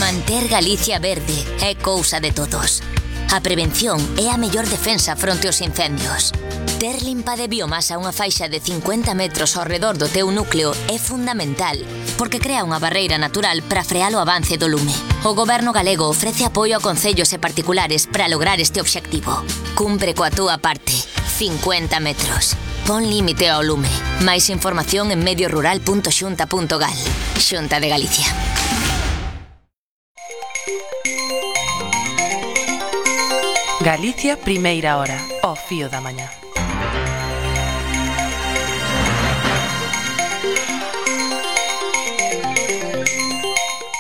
Manter Galicia verde é cousa de todos. A prevención é a mellor defensa fronte aos incendios. Ter limpa de biomasa unha faixa de 50 metros ao redor do teu núcleo é fundamental, porque crea unha barreira natural para frear o avance do lume. O Goberno galego ofrece apoio a concellos e particulares para lograr este obxectivo. Cumpre coa túa parte. 50 metros. Pon límite ao lume. Máis información en mediorural.xunta.gal. Xunta de Galicia. Galicia, primeira hora, ao fío da mañá.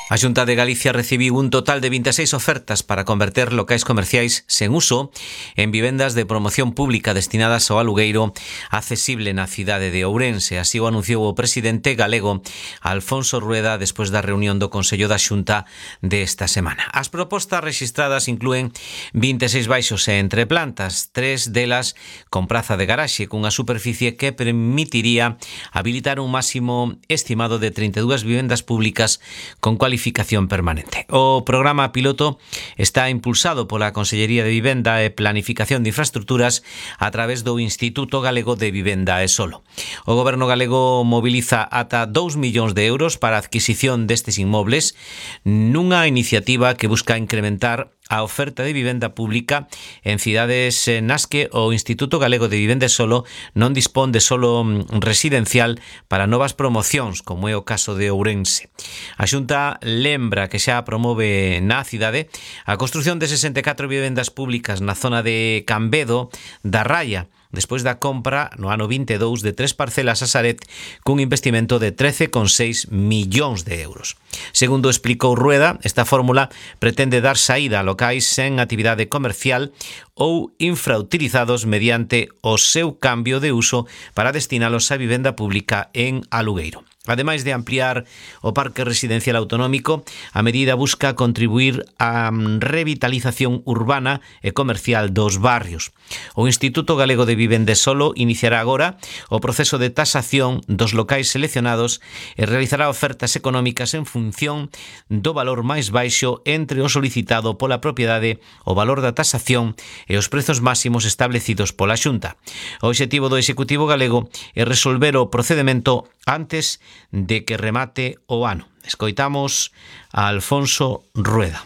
A Xunta de Galicia recibiu un total de 26 ofertas para converter locais comerciais sen uso en vivendas de promoción pública destinadas ao alugueiro accesible na cidade de Ourense. Así o anunciou o presidente galego Alfonso Rueda despois da reunión do Consello da Xunta desta semana. As propostas rexistradas inclúen 26 baixos e entreplantas, 3 delas con praza de garaxe, cunha superficie que permitiría habilitar un máximo estimado de 32 vivendas públicas con cualificación permanente. O programa piloto está impulsado pola Consellería de Vivenda e Planificación de Infraestructuras a través do Instituto Galego de Vivenda e Solo. O Goberno galego moviliza ata 2 millóns de euros para a adquisición destes inmobles nunha iniciativa que busca incrementar a oferta de vivenda pública en cidades nas que o Instituto Galego de Vivenda e Solo non dispón de solo residencial para novas promocións, como é o caso de Ourense. A Xunta lembra que xa promove na cidade a construción de 64 vivendas públicas na zona de Cambedo da Raya, despois da compra no ano 22 de 3 parcelas a Saret cun investimento de 13,6 millóns de euros. Segundo explicou Rueda, esta fórmula pretende dar saída a locais sen actividade comercial ou infrautilizados mediante o seu cambio de uso para destinalos a vivenda pública en alugueiro. Ademais de ampliar o parque residencial autonómico, a medida busca contribuir á revitalización urbana e comercial dos barrios. O Instituto Galego de Vivenda e Solo iniciará agora o proceso de tasación dos locais seleccionados e realizará ofertas económicas en función do valor máis baixo entre o solicitado pola propiedade, o valor da tasación e os prezos máximos establecidos pola Xunta. O obxectivo do Executivo galego é resolver o procedemento antes de que remate o ano. Escoitamos a Alfonso Rueda.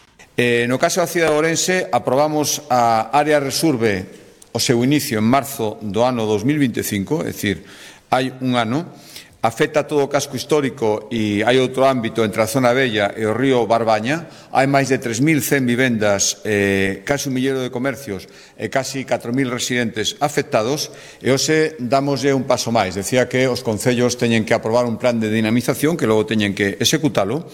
No caso da cidade de Ourense, aprobamos a área Resurbe o seu inicio en marzo do ano 2025, é dicir, hai un ano. Afecta todo o casco histórico e hai outro ámbito entre a zona vella e o río Barbaña. Hai máis de 3.100 vivendas, casi 1 millero de comercios e casi 4.000 residentes afectados. E hoxe damoslle un paso máis. Decía que os concellos teñen que aprobar un plan de dinamización que logo teñen que executalo.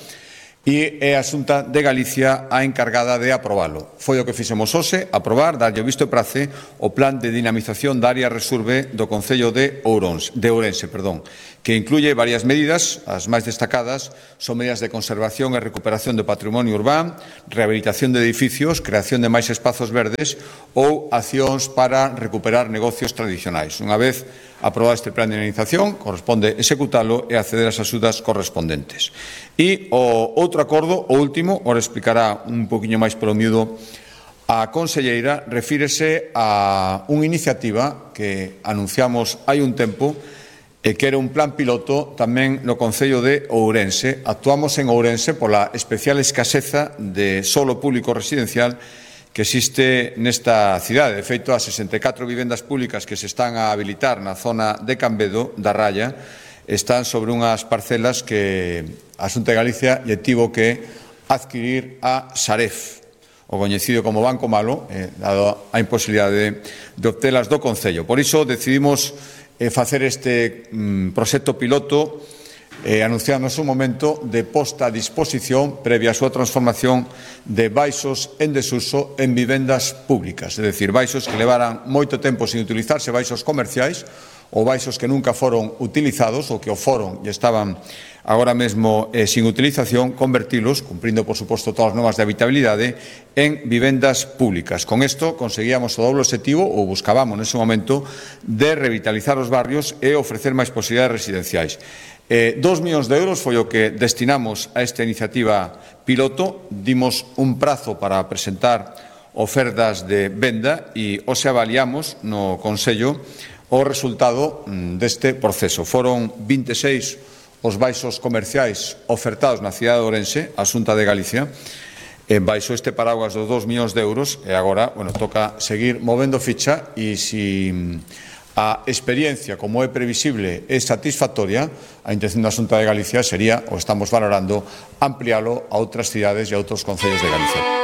E é a Xunta de Galicia a encargada de aprobalo. Foi o que fixemos hoxe, aprobar, darlle o visto e prace o plan de dinamización da área Resurbe do Concello de Ourense, que incluye varias medidas. As máis destacadas son medidas de conservación e recuperación do patrimonio urbán, rehabilitación de edificios, creación de máis espazos verdes ou accións para recuperar negocios tradicionais. Unha vez aprobado este plan de dinamización, corresponde executalo e acceder ás axudas correspondentes. E o outro acordo, o último, ora explicará un poquinho máis polo miúdo a conselleira, refírese a unha iniciativa que anunciamos hai un tempo e que era un plan piloto tamén no Concello de Ourense. Actuamos en Ourense pola especial escaseza de solo público residencial que existe nesta cidade. De feito, as 64 vivendas públicas que se están a habilitar na zona de Cambedo da Raya están sobre unhas parcelas que a Xunta de Galicia lle tivo que adquirir a Saref, o coñecido como Banco Malo, dado a imposibilidade de obtelas do Concello. Por iso decidimos facer este proxecto piloto anunciando un momento de posta a disposición previa a súa transformación de baixos en desuso en vivendas públicas, é dicir, baixos que levaran moito tempo sin utilizarse, baixos comerciais ou baixos que nunca foron utilizados ou que o foron e estaban agora mesmo sin utilización, convertilos, cumprindo, por suposto, todas as normas de habitabilidade, en vivendas públicas. Con isto conseguíamos o doble objetivo, ou buscábamos nese momento, de revitalizar os barrios e ofrecer máis posibilidades residenciais. 2 millóns de euros foi o que destinamos a esta iniciativa piloto. Dimos un prazo para presentar ofertas de venda e hoxe avaliamos no Consello o resultado deste proceso. Foron 26 os baixos comerciais ofertados na cidade de Ourense, a Xunta de Galicia, baixo este paraguas dos 2 millóns de euros, e agora, toca seguir movendo ficha, e se a experiencia, como é previsible, é satisfactoria, a intención da Xunta de Galicia sería, o estamos valorando, ampliálo a outras cidades e a outros concellos de Galicia.